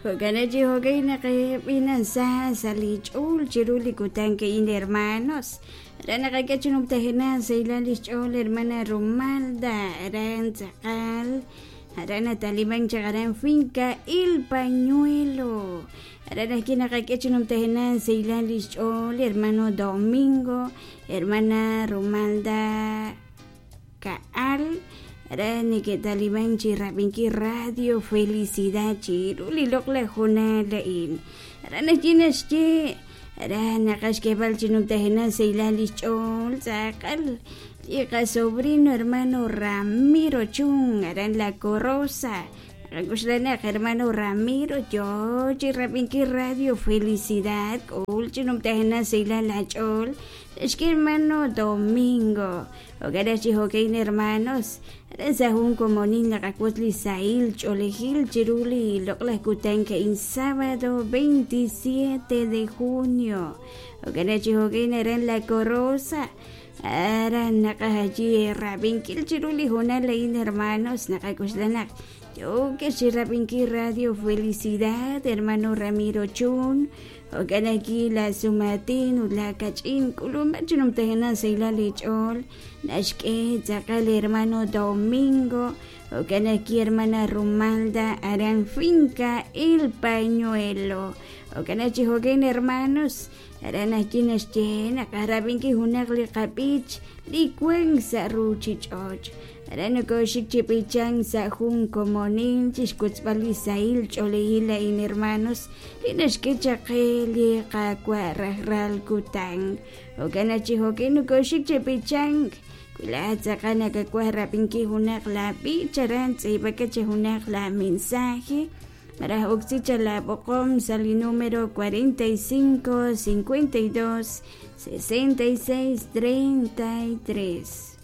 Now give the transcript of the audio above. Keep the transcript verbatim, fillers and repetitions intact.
Jo'kan chi jo'kan naq sa sa li ch'ool chiru li kutan ka'in, hermanos. Aran naqak'e chi numtajenaq sahilal lix ch'ool hermana Romalda aran tz'aqal aran nataliman chaq aran finca El Pañuelo. Aran ajwi' naqak'e chi numtajenaq sahilal lix ch'ool hermano Domingo, hermana Romalda Ka'al aran neke'taliman chi rab'inkil Radio Felicidad chiru li loq'laj hoonal a'in. Aran ajwi' naxye aran naqaj xk'eeb'al chi numtajenaq sahilal lix ch'ool tz'aqal li qasobrino hermano Ramiro Chun aran La Corosa. Naqak'oxla hermano Ramiro yoo chi rab'inkil Radio Felicidad k'ul chi numtajenaq sahilal la ch'ool naxk'e hermano Domingo. Jo'kan chi jo'kan, hermanos, aran sa jun komonil naqawotz li sahil ch'oolejil chiru li loq'laj kutan ka'in sábado veintisiete de junio. Jo'kan chi jo'kan aran La Corosa aran naqaj allí rab'inkil chiru li hoonal a'in, hermanos. Naqak'oxla naq yookex chi rab'inkil Radio Felicidad, hermano Ramiro Chun. Jo'kan aquí la sumatin ut la kach'in k'ulub'aj chi numtajenaq sahilal li ch'ool naxk'e tz'aqal hermano Domingo. Jo'kan aquí hermana Romalda aran finca El Pañuelo. Jo'kan chi jo'kan, hermanos, aran ajwi' naxye naq rab'inkil junaq li qab'ich li wan sa' ruchich'och'. Aran nokoxik chi b'ichank sa' jun komonil chixwotzb'al li sahil ch'oolejil a'in, hermanos, li naxk'e chaq qe li Qaawa' rajlal kutan. Jo'kan chi jo'kan nokoxik chi b'ichank. Wi laa'at tz'aqal nakawaj rab'inkil junaq la b'ich aran tz'iib'aka chi junaq la mensaje malaj oksi cha la b'oqom sa' li número cuarenta y cinco cincuenta y dos sesenta y seis treinta y tres.